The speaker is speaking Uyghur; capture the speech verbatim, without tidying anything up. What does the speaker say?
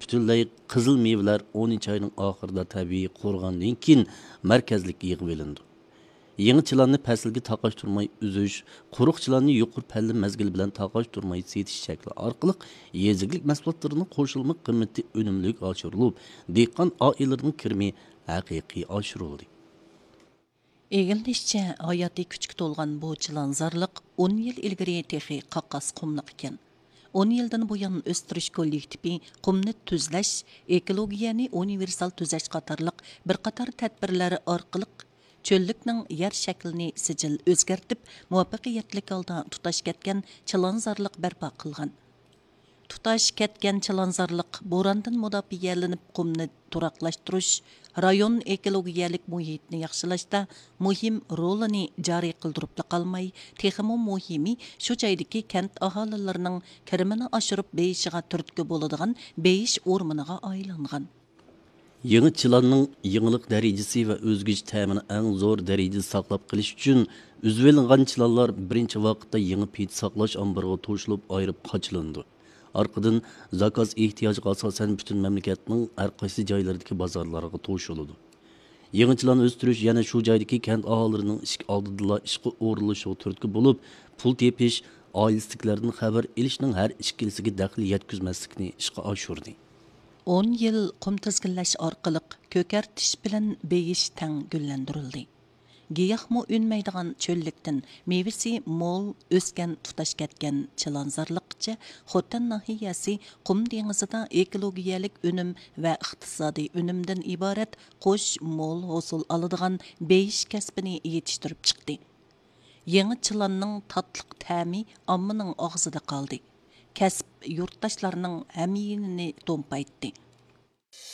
پۈتۈنلەي قىزىل مېۋىلەر ئونىنچى ئاينىڭ ئاخىرىدا تەبىئىي قۇرۇغاندىن كېيىن مەركەزلىككە يىغىۋېلىنىدۇ. يېڭى چىلاننى پەسىلگە تاقاشتۇرماي ئۈزۈش، قۇرۇق چىلاننى يۇقىرى پەللە مەزگىلى بىلەن تاقاشتۇرماي سېتىش شەكلى ئارقىلىق يېزا ئىگىلىك مەھسۇلاتلىرىنىڭ قوشۇلما قىممىتى ئۈنۈملۈك ئاشۇرۇلۇپ، دېھقان ئائىلىلىرىنىڭ كىرىمى ھەقىقىي ئاشۇرۇلدى. ئىگىلىنىشىچە، ھاياتىي كۈچكە تولغان بۇ چىلانزارلىق ئون يىل ئىلگىرى تېخى قاقاس قۇملۇق ئىكەن. ئون يىلدىن بۇيان ئۆستۈرۈش كوللېكتىپى قۇمنى تۈزلەش، ئېكولوگىيەنى ئۇنىۋېرسال تۈزەش قاتارلىق بىر قاتار تەدبىرلەر ئارقىلىق چۆللۈكنىڭ يەر شەكلىنى سىجىل ئۆزگەرتىپ، مۇۋەپپەقىيەتلىك ھالدا تۇتاش كەتكەن چىلانزارلىق بەرپا قىلغان. تۇتاش كەتكەن چىلانزارلىق بوراندىن مۇداپىئەلىنىپ، قۇمنى تۇراقلاشتۇرۇش، رايون ئېكولوگىيەلىك مۇھىتنى ياخشىلاشتا مۇھىم رولىنى جارى قىلدۇرۇپلا قالماي، تېخىمۇ مۇھىمى، شۇ جايدىكى كەنت ئاھالىلىرىنىڭ كىرىمىنى ئاشۇرۇپ بېيىشىغا تۈرتكە بولىدىغان بېيىش ئورمىنىغا ئايلانغان. يېڭى چىلاننىڭ يېڭىلىق دەرىجىسى ۋە ئۆزگىچە تەمىنى ئەڭ زور دەرىجىدە ساقلاپ قېلىش ئۈچۈن، ئۈزۈۋېلىنغان چىلانلار بىرىنچى ۋاقىتتا يېڭى پىدە ساقلاش ئامبىرىغا توشۇلۇپ، ئايرىپ قاچىلىنىدۇ. ئارقىدىن زاكاز ئېھتىياجىغا ئاساسەن پۈتۈن مەملىكەتنىڭ ھەر قايسى جايلىرىدىكى بازارلارغا توشۇلىدۇ. يېڭى چىلان ئۆستۈرۈش يەنە شۇ جايدىكى كەنت ئاھالىلىرىنىڭ ئىشىك ئالدىدىلا ئىشقا ئورۇنلىشىشىغا تۈرتكە بولۇپ، پۇل تېپىش، ئائىلىسىدىكىلەردىن خەۋەر ئېلىشنىڭ ھەر ئىككىلىسىگە دەخلى يەتكۈزمەسلىكنى ئىشقا ئاشۇردى. ئون يىل قۇم تىزگىنلەش ئارقىلىق كۆكەرتىش بىلەن بېيىش تەڭ گۈللەندۈرۈلدى. گىياھمۇ ئۈنمەيدىغان چۆللۈكتىن مېۋىسى مول ئۆسكەن تۇتاش كەتكەن چىلانزارلىققىچە خوتەن ناھىيەسى قۇم دېڭىزىدا ئېكولوگىيەلىك ئۈنۈم ۋە ئىقتىسادىي ئۈنۈمدىن ئىبارەت قوش مول ھوسۇل ئالىدىغان بېيىش كەسپىنى يېتىشتۈرۈپ چىقتى. يېڭى چىلاننىڭ تاتلىق تەمى ئاممىنىڭ ئاغزىدا قالدى. كەسىپ يۇرتداشلارنىڭ ھەميانىنى تومپايتتى.